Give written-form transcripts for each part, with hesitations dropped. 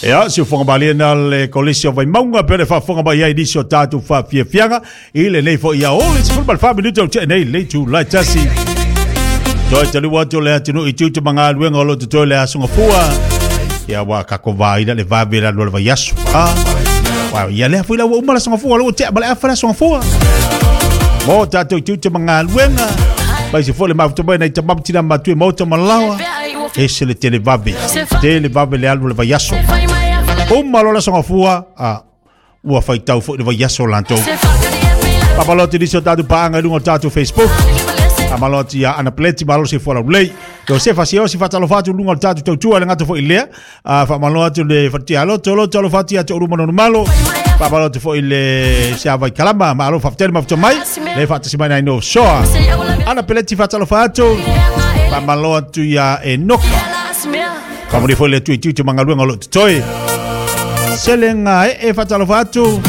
Ia, si ufoga malie na le kolisi o Vaimauga pe le faafofoga mai ai nisi o tatou faafiafiaga i lenei foi aoauli 14 minute o tea nei le itula e 1. Toe taliu atu le atunuu i tiute ma galuega o lo o totoe le aso gafua. Ia, ua tatou vaai la le vave le alu o le vaiaso. Ah, ua ia lea foi la ua uma le aso gafua, la ua tea ma le afa le aso gafua. Mo tatou tiute ma galuega, mai se foi le mafuta mai nei tamamu tina matue maota ma laoa. Ese le tele vave, tele vave le alu o le vaiaso. Uma loa le aso gafua, a ua faitau foi le vaiaso latou. Faamalo atu i nisi o tatou paaga i luga o le tatou Facebook. Faamalo atu ia Ana Pleti, malo se fuala ulei. Josefa Siosi, faatalofa atu i luga o le tatou tautua, le gata foi i lea. Faamalo atu le Fatia Loto, loto alofa atu ia te Uru Manono Malo. Faamalo atu foi le Siavai Kalama, malo faafetai le mafuta mai. Le faatasi mai nai no soa. Ana Peleti, faatalofa atu. Faamalo atu ia Enoka. Faamalo foi le atu i tiute ma galuega o lo o totoe. Selenga e faatalofa atu.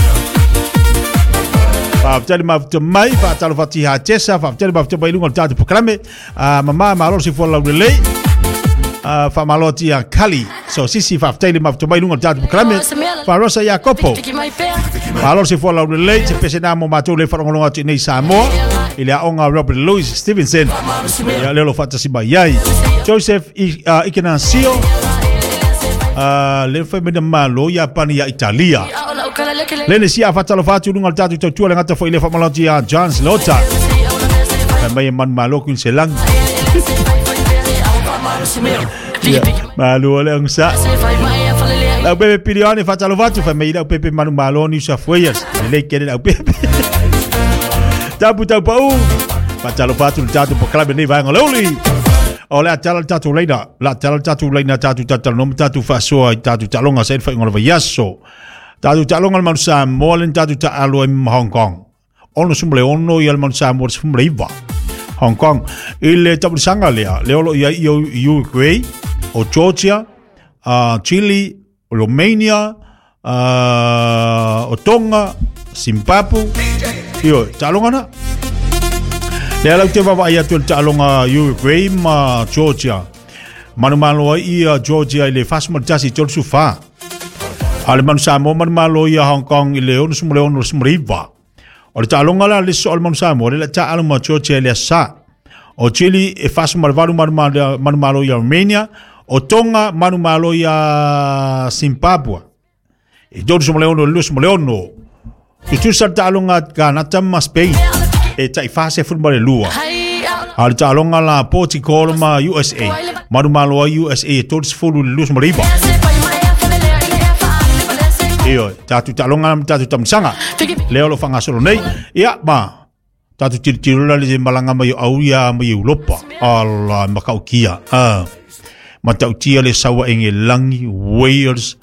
Faafetai le mafuta mai, faatalofa atu ia Tessa, faafetai le mafuta mai i luga o le tatou programme. Mama malo se fua laulelei. Faamalo atu ia Kali. So sisi faafetai le mafuta mai i luga o le tatou programme. Farosa ia Kopo. Malo se fua laulelei, se pese na mo matou le faalogologo atu i nei Samoa. I le aoga Robert Louis Stevenson. Ia leo lo faatasi mai ai. Joseph Ikenasio. Le fai mai na malo ia pani ia Italia. Le sia faatalofa atu i luga o le tatou tautua le gata foi le faamalo atu ia John Slota. Fai mai e manu malo kuin se lagi. Ia, malo le angsa. Lau pepe pilione faatalofa atu fai mai lau pepe manu malo New South Wales. Lelei kele lau pepe. Tapu tau pau. Faatalofa atu le tatou pokalabe nei vaega o le uli. O le a tala le tatou laina, la tala le tatou laina tatou tatalanoa ma tatou faasoa i tatou taaloga sa i le faaiuga o le vaiaso. Tatou taaloga le Manu Samoa le tatou taalo ai ma Hong Kong. 66 ia le Manu Samoa le 19. Hong Kong. I le tapulisaga lea, lea o lo o i ai i Uruguay, o Georgia, Chile, o Romania, o Tonga, Zimbabwe, ioe, taaloga na. Lea lau te vaavaai atu i le taaloga Uruguay ma Georgia. Manumalo ai ia Georgia i le 41 34. A le Manu Samoa manumalo ia Hong Kong i le 66 19. O le taaloga la le so o le Manu Samoa, le la taalo ma Georgia i le asa. O Chile e 48 manumalo ia Romania, o Tonga manumalo ia Zimbabwe. E 36 26. Tutusa le taaloga Kanata ma Spain e tai 42. A le taaloga la Portugal ma USA. Manumalo ai USA e 30 29. Ioe, tatou taaloga ma tatou tamasaga. Lea o lo o faagasolo nei. Ia, ma tatou tilotilo la le malaga mai o au ia mai Europa. Ala, matautia. Matautia le sau a Engelani, Wales,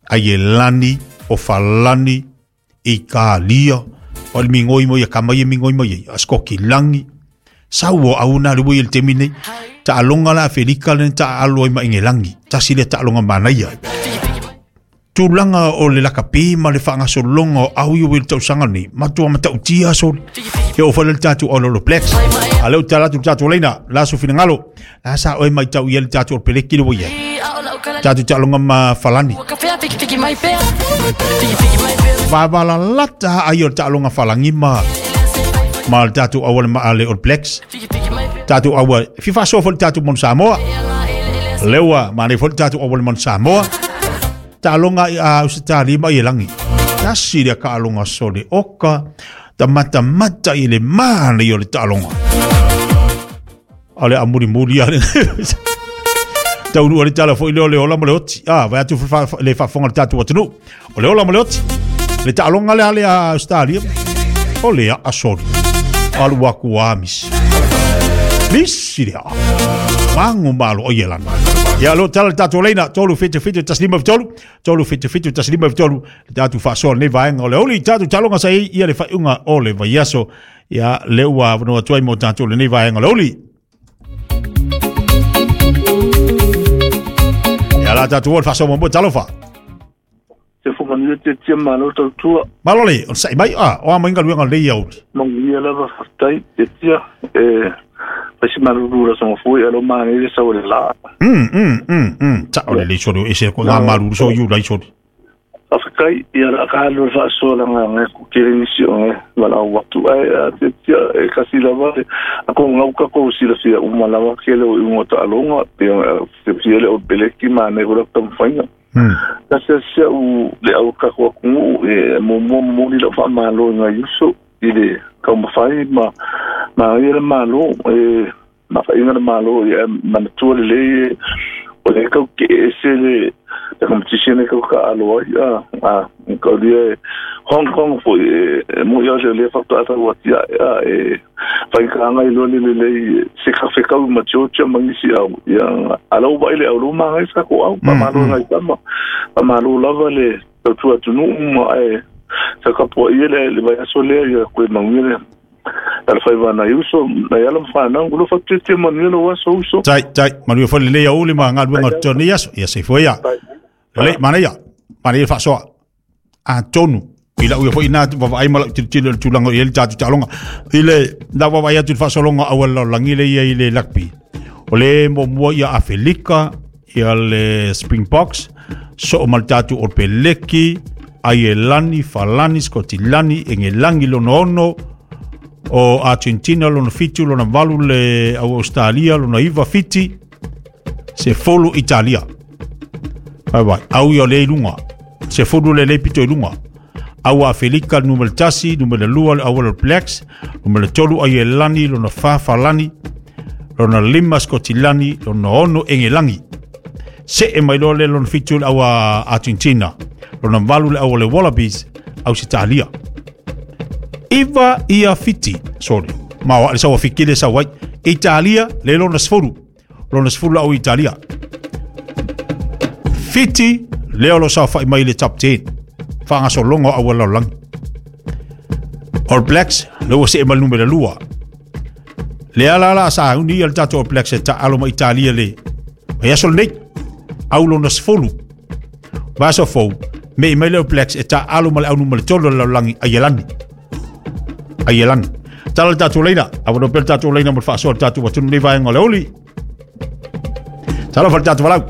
Aielani, o Falani, Italia, o le migoi mo ia kama ia migoi mai ai, a Skokilangi. Sau o au na le ui le temi nei. Taaloga la Afelika le taalo ai ma Engelangi. Tasi le taaloga manaia. Tulaga o le lakapi ma le faagasologa o au i le tausaga nei, matua matautia soli. E oo foi le tatou All Blacks. A lea ua tala atu le tatou laina, la su finagalo. La sa oe maitau ia le tatou o peleki le ua i ai. Tatou taaloga ma Falani. Vavalalata ai o le taaloga Falangi ma ma le tatou auala ma le All Blacks. Tatou aua fifa faasoa foi le tatou Manu Samoa. Lea ua manaia foi le tatou auala Manu Samoa. Taaloga i a Ausetalia ma Ielagi. Tasi lea taaloga sole oka ta matamata i le manaia o le taaloga. A le amulimuli a le taunuu le tala foi lea o le ola ma le oti. Ah, vai atu le faafofoga le tatou atunuu. O le ola ma le oti. Le taaloga lea le a Australia. O le a soli. Alu aku a misi. Misi le a. Mango malo o ielana. Ia lo tala le tatou leina. 3 7 7 1 5 3. 3 7 7 1 5 3. Le tatou faasoa lenei vaega o le aoauli. Tatou taaloga sa i ia le faaiuga o le vaiaso. Ia le ua avanoa atu ai mo tatou lenei vaega o le aoauli. Ia la tatou o le faasoa muamua talofa. Se whakanuia te tia malo tautua. Malo le, o sai mai, a, o a mai galuega lelei aoauli. Manuia lava whakatai te tia, e Fai malulu la songo foi alo ma le sa o la. Ta o le so e se ko ngā malulu so yu lai so. Afkai ia la ka lo fa so la nga ku kere ni si o wala watu ai te e kasi la va a ko ngau ka ko si la si o mala wa ke le o ngota alonga pe se le o beleki ma ne ko tam fainga. Ta se se u le au ka ko ku e mo mo mo ni la fa ma lo nga yuso i le ka ma fai ma ma ia le malo e ma fa inga le malo e ma tu le o le ka ke se le la competition e ka alo ai a ka le Hong Kong fo e mo ia le fa ta ta wa tia e fa ka ngai lo le le se ka fe ka ma tio ma ni si au ia alo ba ile au ma ngai sa ko au pa ma lo ngai ta ma ma lo la va le tu tu nu ma e sa ka po ile le va so le ia ko ma ngile al fai va na yuso na yala fa na lo fa te ma ni lo wa so so tai tai ma lu fa le ia uli ma ngal nga to ni yaso ia se fo ia le mana ia mana ia fa so a tonu ila u fo ina va ai mala ti le tulanga i le tatu talonga ile da va ia tu fa solonga awal langi le ia ile lakpi ole mo mo ia Afrika ia le Springboks so mal tatu o peleki Aielani Falani Scotilani Engelangi lono o Argentina lona 7 lona 8 le Australia lona 9 fiti se folu Italia vai vai au ia le lunga se folu le le pito lunga au Afrika numero 1 numero 2 au All Blacks numero 3 Aielani lona 4 Falani lona 5 Scotilani lona 6 Engelangi se e mai lo le lona 7 au Argentina lona 8 le au le Wallabies au Italia Iva ia fiti, sorry. Ma wa sa fikile sa wai Italia le lona sfuru. Lona sfuru au Italia. Fiti le lo sa fa mai le top 10. Fa nga so longo au la lang. All Blacks le o se mal numero 2. Le ala la sa uni al tato All Blacks ta alo ma Italia le. Ma ia sol nei au lona sfuru. Va so fo me mai le All Blacks ta alo ma le au numero 3 la langi Aielani. Aielani. Tala tatu leina, a no pel tatu leina mo fa so tatu wa tunu vai ngole oli. Tala fa tatu valau.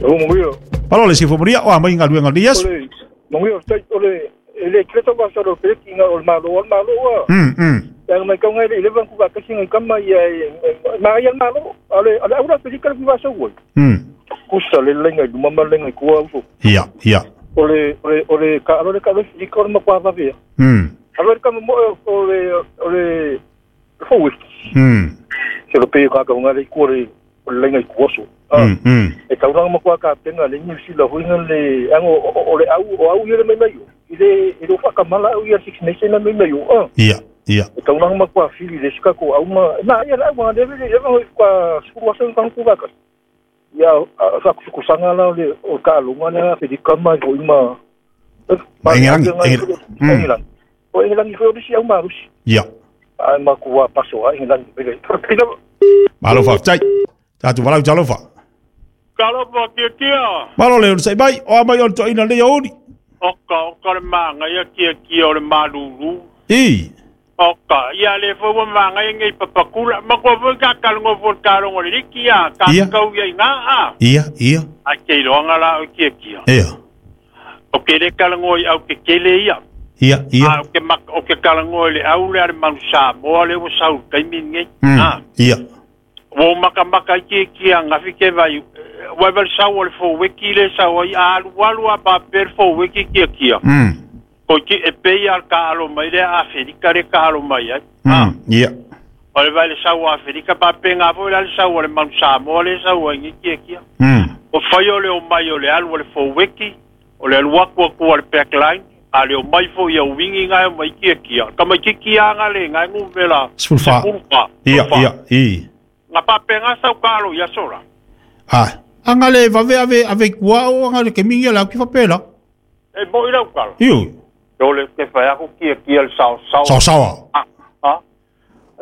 O mo yo. Palo le si fo moria o mai ngalu ngal yes. Mo yo tai ole ele kreto ba so pe ki nga ol malo ol malo wa. Yang mai kau ngai le van ku ba kasi ngai kama ia ma ia malo ale ale aura pe ka ku ba so wo. Kusa le le ngai duma ma le ngai ku au. Ia ia. Ole ole ole ka ole ka le si ko ma kwa va via. Allora come ole ole foi. Se lo pe ka ka ngai ku le le ngai ku so. E ka nga mo kwa ka tenga le ni si la hui le ango ole au o au ile mai mai. Ile ile fa ka mala au ia Six Nation na mai mai o. Ia ia. E ka nga mo kwa fili le ska ko au ma na ia la wa le le kwa su wa sa ku ka. Ia sa ku sanga la le o ka lunga na fe di kama ko ima. Engelangi. O Engelangi foi o si au marusi. Ia. Ai ma ku wa paso a Engelangi. Malo fa tai. Tatu valau talofa. Kalofa kia kia. Malo le sai mai o mai o to ina le oli. Oka oka le manga ia kia kia o le malulu. I. Oka ia le fo wa manga ngai papakula ma ko fo ka kalongo fo kalongo le kia ka kau ia nga a. Ia ia. A ke roanga la o kia kia. Ia. O ke le kalongo i au ke kele ia. Ia ia. A o ke mak o ke kalongo le au le ale manu sa mo le o sau kai minge. Ia. O maka maka ki ki anga fi ke vai wa val sa o le fo wiki le sa o alu alu a pa per fo wiki ki ki. Ko ki e pe ia ka alo mai le Afrika le ka alo mai ai. Ia. O le vai le sa o Afrika pa pe nga fo le sa o le manu sa mo le sa o ngi ki ki. O fai o le o mai o le alu o le fo wiki o le alu aku aku o le backline. Ale o mai fo ia wingi ngai mai kia kia. Ka mai ki kia nga le ngai ngu vela. Sulfa. Ia ia i. Nga pa penga sau kalo ia sora. Ah, anga le va ve ave avec wa o anga le ke mingi la ki fa pela. E mo ila kalo. Iu. O le ke fa aku kia kia le sao sao. Sao sao. Ah. Ah.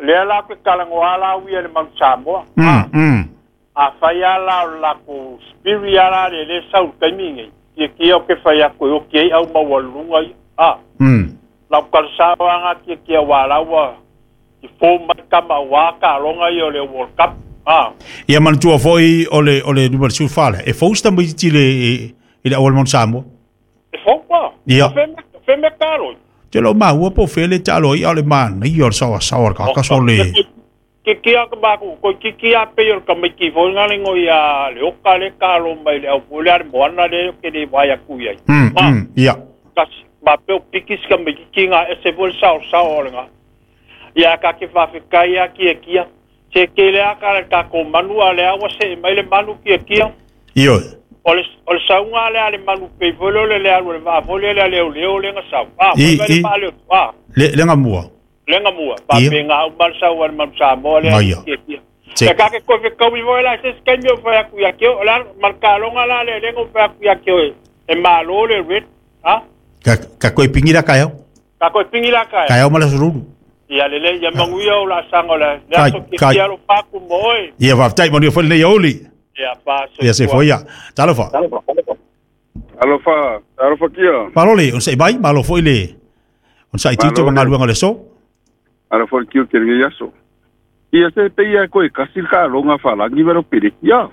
Le ala ke kalango ala ui le mau Samoa. A fa ia la la ku spirit ala le le sau kai mingi. Kia kia o ke whai ako o kia au maua lunga i. Ah. Lau kalsawa nga kia kia wā lawa i fō mai kama wa ka longa i o le World Cup. Ah. Ia manatua foi o le numera 14 e fou sta mai tile i le awal mon Samoa. E fou pa. Ia. Fe me kalo. Te lo maua po fele talo i ale mana i o sawa sawa ka ka sole. Ki ki a ka ku ko ki ki a pe o ka mai ki fo ngale ngo ia le o ka le kalo mai le au pule ar moana le ke le vai ku ia. Ia. Ka ba pe o pikis ka mai ki nga e se vol sawa sawa nga. Ia ka ke fa fe kai a ki kia. Se ke le a ka ka ko manu a le awa se mai le manu ki kia. Io. O le saunga le ale manu pe volo le le alu le va volo le le le le nga sau. Ah, le pa le ah. Le nga mua. Le nga mua. Pa pe nga u mal sau al man sa mo le ki kia. E ka ke ko fe ko vi vola se ke mi fa ku ya ke o la mal ka longa la le le ngo fa ku ya ke e malo le red ah. Ka ko pingira ka yo. Ka ko pingira ka. Ka yo mala sururu. Ia lele ia manguia o la sango la le so ki kia lo paku moi. Ia va tai moni fo le oli. Ia pa so. Ia se foi ia. Talofa. Alofa, alofa kia. Parole, on se bai malo foi le. On sai tito mangaluanga le so. Alofa kia ke le yaso. Ia se pe ia ko e kasil ka longa falangi vero pere. Ia.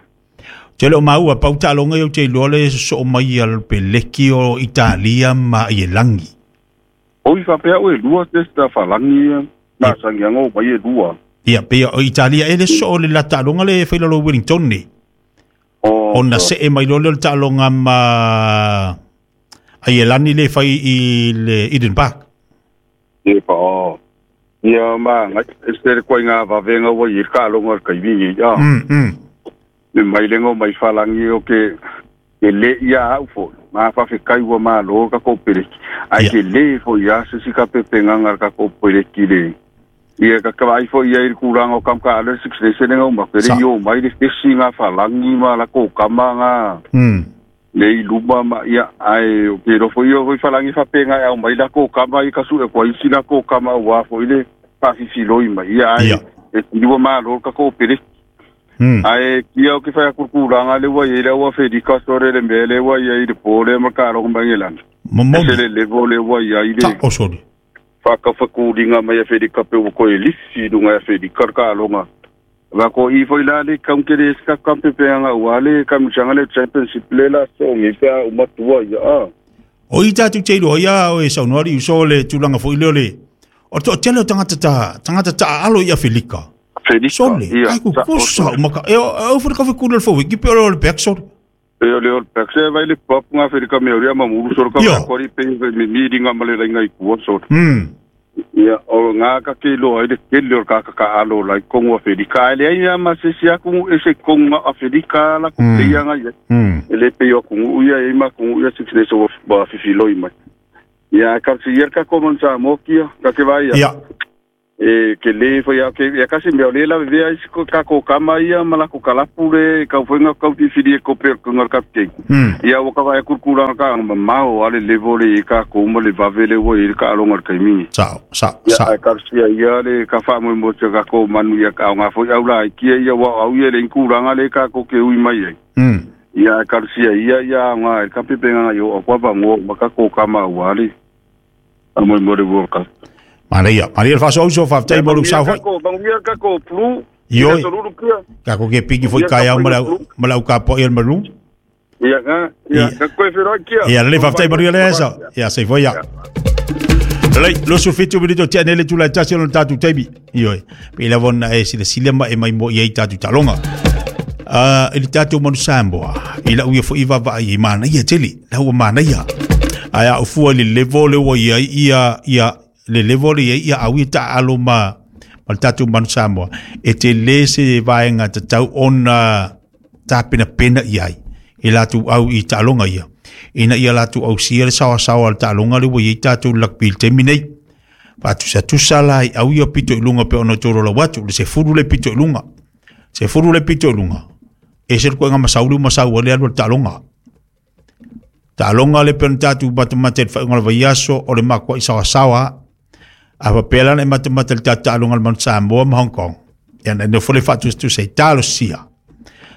Te lo maua pauta longa yo te lole so mai al peleki o Italia ma i langi. Oi fa pea o e lua testa falangi na sangianga o mai e lua. Ia pe o Italia ele so le la talonga le feila lo Wellington ni. O na se e mai lole le talonga ma ai lani le fai i le Eden Park. Ia pa o. Ia ma ngai se ko nga va venga o i ka longa ka i ia. Me mai lengo mai falangi o ke le ia au fo. Ma fa fe kai wa ma lo ka ko pere. Ai ke le fo ia se si ka pepe nganga ka ko pere ki le. Ia ka ka ai fo ia i kuranga o kam ka le six nation nga ma pere yo mai le fesi nga falangi ma la ko kama nga. Le i luma ma ia ai o ke ro fo ia fo falangi fa pe nga au mai la ko kama i ka su e ko i sina ko kama wa fo i le pa fi loi ma ia ai e ti wa ma lo ka ko pere. Ai kia o ke whai kurkuranga le wa i rewa wherika sore le mele wa i le pōre ma ka rongo mangelana. Mamoni. Se le levo le wa i le. Ta o sori. Whakawhakuringa mai a wherika pe o koe lisi runga a wherika ka ronga. Wa ko i foi la le kaunkere ska kampe pe anga ua le kamuchanga le championship le la so ngi pea umatua ia a. O i tātu te iroa ia o e saunoari uso le tūlanga fo i leo le. O to tele o tangata ta alo i a wherika. Sole, ai ku kusa maka e o fo ka ku le fo ki pe o le back sole. E o le back se vai le pop nga Afrika me ori ma muru sore ka ko ri pe me mi ringa male ringa i ku sore. Ia o nga ka ke lo ai le ke le ka ka alo la ko ngo Afrika le ai ma se sia ku e se ko nga Afrika la ku te nga ia. E le pe yo ku ia e ma ku ia six days of ba fifi loi mai. Ia ka si ia ka ko mon sa mokia ka ke vai ia. E ke le fo ia ke ia kasi me ole la vea is ko ka ko kama ia mala ko kalapu le ka fo nga ka ti fili ko pe ko ngar kapte ia o ka vai kurkura ka ma o ale le vole ka ko mo le vavele wo i ka longa ka mi sa sa sa ia ka sia ia le ka fa mo mo ka ko manu ia ka nga fo ia ula ki ia wa au ia le kuranga le ka ko ke ui mai ai ia ka sia ia ia nga ka pe pe nga yo kwa ba ngo ma ka ko kama wa le mo mo le wo ka Maria, Maria fa so so fa tai mo sa foi. Ko banguia ka ko plu. Io. Ka ko ke piki foi kai au mala ka po el maru. Ia ga, ia ka ko fero kia. Ia le fa tai Maria le esa. Ia se foi ia. Le lo sufito bilito ti anele tu la tasi no tatu tebi. Io. Pe la von e si le silema e mai mo ia tatu talonga. Ah, ele tatu mo sambo. Ila u fo iva va i mana ia tele. La u mana ia. Aya u fu le levo le wo ia ia ia le level ia ia au ta alo ma tatu manu Samoa e te le se vaenga te tau ona ta pena pena i ai e latu au i talonga ia ina ia latu au sia le sawa sawa le talonga le ua i tātou lakpi le temi nei whatusa tusa la i au ia pito i lunga pe ona toro la watu le se furu le pito i lunga se furu le pito i lunga e se koe nga masauri masau le alu le talonga talonga le pena tātou matamate le whainga le vaiaso o le makua i sawa sawa a papela na matamate le tātalonga le manu Samoa ma Hong Kong ia na fole whatusa tusa i talo sia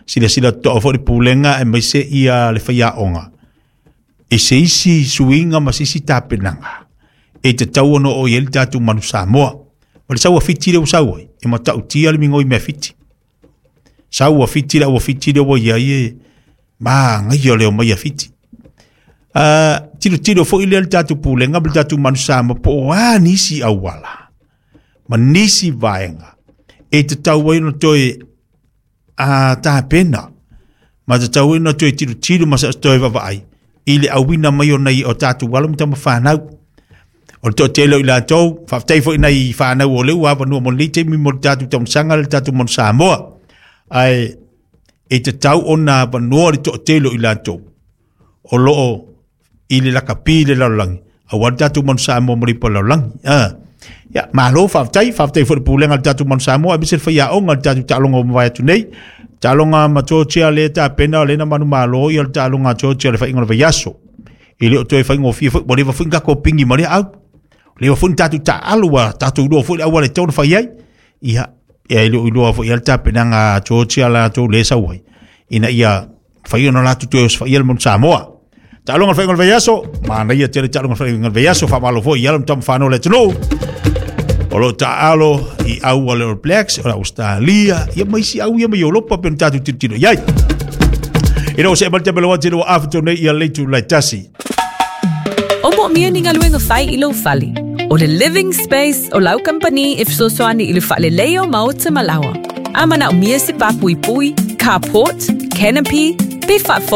sila sila to'o fo le pulenga e mai se ia le whaiaonga e se isi suinga ma se isi tapenanga e te tau ono o i ele tātou manu Samoa o le saua whiti le usaua E matautia le migoi mea Fiti. Sau ua Fiti le ua Fiti le ua iai e magaia le omai a Fiti. Tilotilo foi lea le tatou pulega ma le tatou Manu Samoa po o a nisi auala ma nisi vaega e tatau ai ona toe a tapena ma tatau ai ona toe tilotilo ma toe vaavaai i le auina mai o nai o tatou alo ma tama fanau. O le toatele o i latou, faafetai foi nai fanau o lea ua avanoa mo lenei taimi mo le tatou taumasaga le tatou Manu Samoa. Ae e tatau ona avanoa le toatele o i latou o loo i le lakapi i le lalolagi aua le tatou Manu Samoa mo le ipu a le lalolagi. Ia, malo faafetai, faafetai foi i le pulega a le tatou Manu Samoa aemaise le faiaoga i le tatou taaloga ua mavae atu nei. Taaloga ma Georgia lea e tapena o lea na manumalo ia le taaloga a Georgia i le faiga o le vaiaso. E le o toe faigofie foi, ua leva foi ona tatou pigi ma lea au. Ua leva foi ona tatou taaalo, ua tatou iloa foi le auala e tatau ona fai ai. Ia, e le o iloa foi le tapenaga a Georgia latou lea e sau ai, ina ia mafai ona latou toe osofaia le Manu Samoa. Taaloga le faiga o le vaiaso, manaia tele taaloga le faiga o le vaiaso, faamalo foi i alo ma tama fanau o le atunuu. O lo o taaalo i au a le All Blacks, o le Australia, ia ma isi au ia mai Europa pe ona tatou tilotilo i ai. Ina ua see mai le taimi o le wati ua afa nei ia leitu lai tasi. O moomia ni galuega fai i lou fale. O le Living Space o lau kamupani e fesoasoani i le faaleleia o maota ma laoa. A manaomia se papuipui, carport, canopy, pe faafofoga.